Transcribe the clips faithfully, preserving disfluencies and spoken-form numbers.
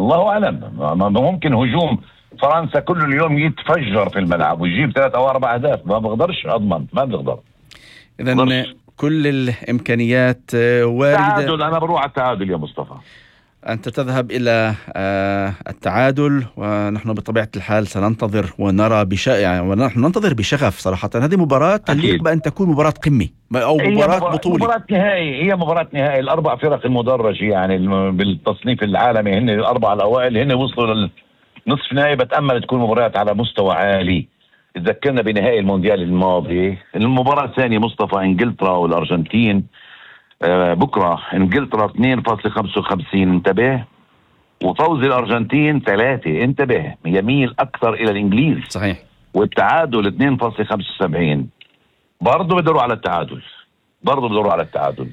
الله اعلم. ممكن هجوم فرنسا كل اليوم يتفجر في الملعب ويجيب ثلاث او اربع اهداف، ما بقدرش اضمن، ما بقدر. اذا كل الامكانيات وارده. تعادل، انا بروح على التعادل يا مصطفى. أنت تذهب إلى التعادل، ونحن بطبيعة الحال سننتظر ونرى بش... يعني ونحن ننتظر بشغف صراحة. هذه مباراة تليق بأن تكون مباراة قمة أو مباراة بطولة. مباراة نهائي، هي مباراة نهائي. الأربع فرق المدرجة يعني بالتصنيف العالمي هن الأربع الأوائل، هن وصلوا للنصف نهائي. بتأمل تكون مباريات على مستوى عالي. تذكرنا بنهائي المونديال الماضي. المباراة الثانية مصطفى إنجلترا والأرجنتين. آه بكرة انجلترا اثنين فاصلة خمسة وخمسين، انتبه، وفوز الارجنتين ثلاثة، انتبه، يميل اكثر الى الانجليز. صحيح. والتعادل اثنين فاصلة خمسة وسبعين، برضه بدوروا على التعادل، برضه بدوروا على التعادل.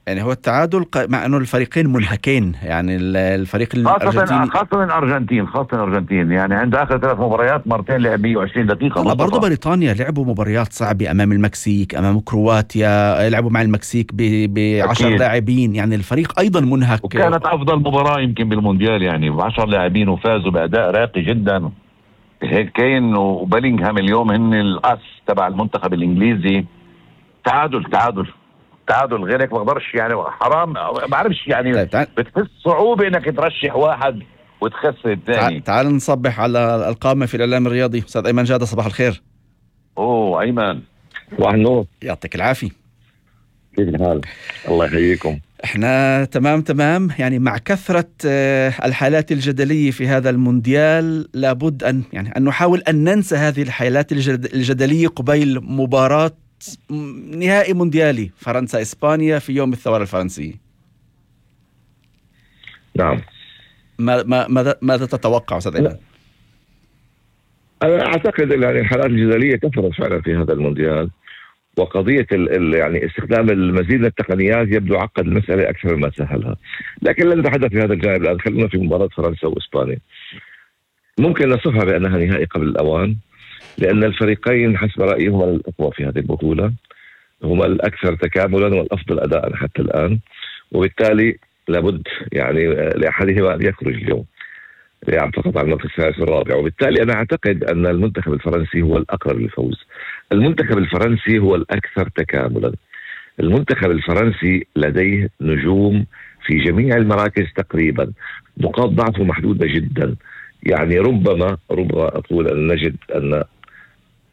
يعني هو التعادل مع انه الفريقين منهكين، يعني الفريق الارجنتيني خاصة الارجنتين خاصة الارجنتين يعني عند اخر ثلاث مباريات مرتين لعب مية وعشرين دقيقة. لا برضه بريطانيا لعبوا مباريات صعبة امام المكسيك، امام كرواتيا، لعبوا مع المكسيك بعشر لاعبين، يعني الفريق ايضا منهك. وكانت افضل مباراة يمكن بالمونديال يعني بعشر لاعبين وفازوا باداء راقي جدا. هيك كين وبيلينغهام اليوم هن الاس تبع المنتخب الانجليزي. تعادل تعادل تعادل، غيرك ما بقدرش يعني، حرام ما بعرفش يعني. طيب بتحس صعوبة انك ترشح واحد وتخسر الثاني. تعال نصبح على القامة في الاعلام الرياضي. استاذ ايمن جادة، صباح الخير. اوه ايمن، صباح النور، يعطيك العافية. كيف الحال؟ الله يحييكم. احنا تمام تمام. يعني مع كثرة الحالات الجدلية في هذا المونديال لابد ان يعني ان نحاول ان ننسى هذه الحالات الجدلية قبيل مباراة نهائي مونديالي فرنسا إسبانيا في يوم الثورة الفرنسية. نعم. ما ما ماذا ماذا تتوقع أستاذ إيمان؟ أنا أعتقد يعني الحالات الجدلية كثرت فعلا في هذا المونديال، وقضية ال ال يعني استخدام المزيد من التقنيات يبدو عقد المسألة أكثر مما سهلها. لكن لن نتحدث في هذا الجانب الآن، خلونا في مباراة فرنسا وإسبانيا. ممكن نصفها بأنها نهائي قبل الأوان، لأن الفريقين حسب رأيي هما الأقوى في هذه البطولة، هما الأكثر تكاملا والأفضل أداء حتى الآن، وبالتالي لابد يعني لأحدهما أن يخرج اليوم يعني فقط على المركز الثالث والرابع. وبالتالي أنا أعتقد أن المنتخب الفرنسي هو الأقرب للفوز. المنتخب الفرنسي هو الأكثر تكاملا. المنتخب الفرنسي لديه نجوم في جميع المراكز تقريبا، نقاط ضعفه محدودة جدا. يعني ربما ربما أقول أن نجد أن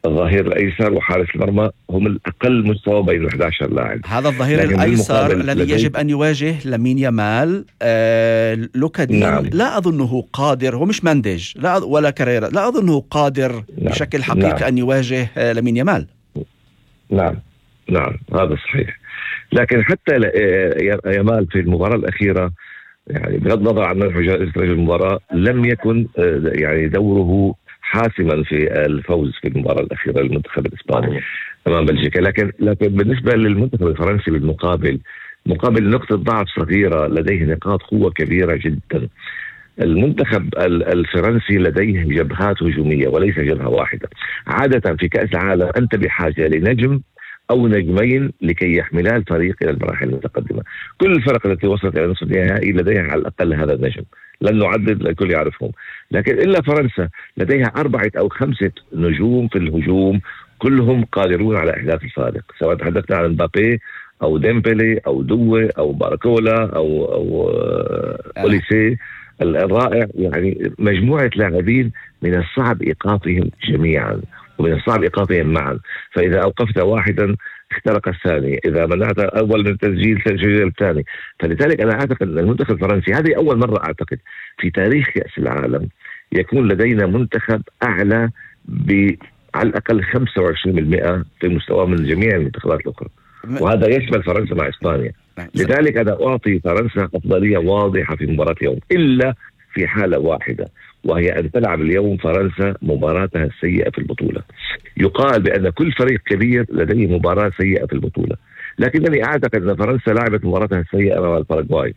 الظهير الأيسر وحارس المرمى هم الأقل مستوى بين أحد عشر لاعب. هذا الظهير الأيسر الذي يجب أن يواجه لامين يامال. آه لوكا دين نعم. لا أظنه قادر، هو مش مانديج لا ولا كاريرا، لا أظنه قادر نعم. بشكل حقيقي نعم. أن يواجه آه لامين يامال. نعم نعم هذا صحيح. لكن حتى يامال في المباراة الأخيرة يعني بغض النظر عن منح جائزة رجل المباراة لم يكن يعني دوره حاسما في الفوز في المباراة الأخيرة للمنتخب الإسباني أمام بلجيكا. لكن لكن بالنسبة للمنتخب الفرنسي بالمقابل، مقابل نقطة ضعف صغيرة لديه نقاط قوة كبيرة جدا. المنتخب الفرنسي لديه جبهات هجومية وليس جبهة واحدة. عادة في كأس العالم أنت بحاجة لنجم أو نجمين لكي يحملا الفريق إلى المراحل المتقدمة. كل الفرق التي وصلت إلى نصف النهائي لديها على الأقل هذا النجم، لن نعدد الكل يعرفهم. لكن إلا فرنسا لديها أربعة أو خمسة نجوم في الهجوم كلهم قادرون على إحداث الفارق، سواء تحدثنا عن مبابي أو ديمبلي أو دوي أو باركولا أو أو أوليسي الرائع. يعني مجموعة لاعبين من الصعب إيقافهم جميعا ومن الصعب إيقافهم معا، فإذا أوقفت واحدا اخترق الثاني، إذا منعت أول من تسجيل سجل الثاني. فلذلك أنا أعتقد أن المنتخب الفرنسي هذه أول مرة أعتقد في تاريخ كأس العالم يكون لدينا منتخب أعلى ب على الأقل خمسة وعشرين بالمئة في مستوى من جميع المنتخبات الأخرى، وهذا يشمل فرنسا مع إسبانيا. لذلك أنا أعطي فرنسا أفضلية واضحة في مباراة اليوم، إلا في حالة واحدة وهي أن تلعب اليوم فرنسا مباراتها السيئة في البطولة. يقال بأن كل فريق كبير لديه مباراة سيئة في البطولة، لكنني أعتقد أن فرنسا لعبت مباراتها السيئة أمام الباراغواي،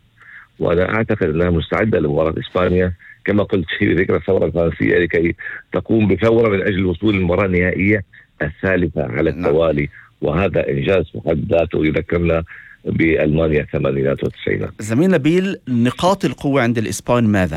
وأنا أعتقد أنها مستعدة لمباراة إسبانيا كما قلت في ذكرى الثورة الفرنسية لكي تقوم بثورة من أجل الوصول للمباراة النهائية الثالثة على التوالي، وهذا إنجاز في حد ذاته يذكرنا بألمانيا الثمانينات والتسعينات. زميل نبيل، نقاط القوة عند الإسبان ماذا؟